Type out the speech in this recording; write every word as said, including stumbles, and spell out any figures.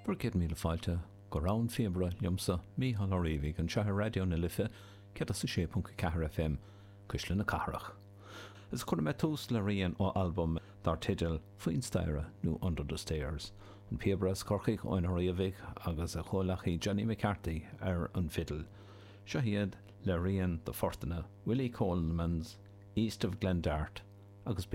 Bhur gcéad míle fáilte go Rann Phíobaire liomsa Mícheál Ó Riabhaigh anseo ar Raidió na Life céad a sé ponc ceathair FM Cuisle na Cathrach. Is chuir mé tús le rian ó albam dar teideal Faoin Staighre nó Under the Stairs. An píobaire as Corcaigh Eoin Ó Riabhaigh agus a chomhleacaí Johnny McCarthy ar an bhfidil. Seo iad le rian de phortanna Willie Coleman's East of Glendart agus bí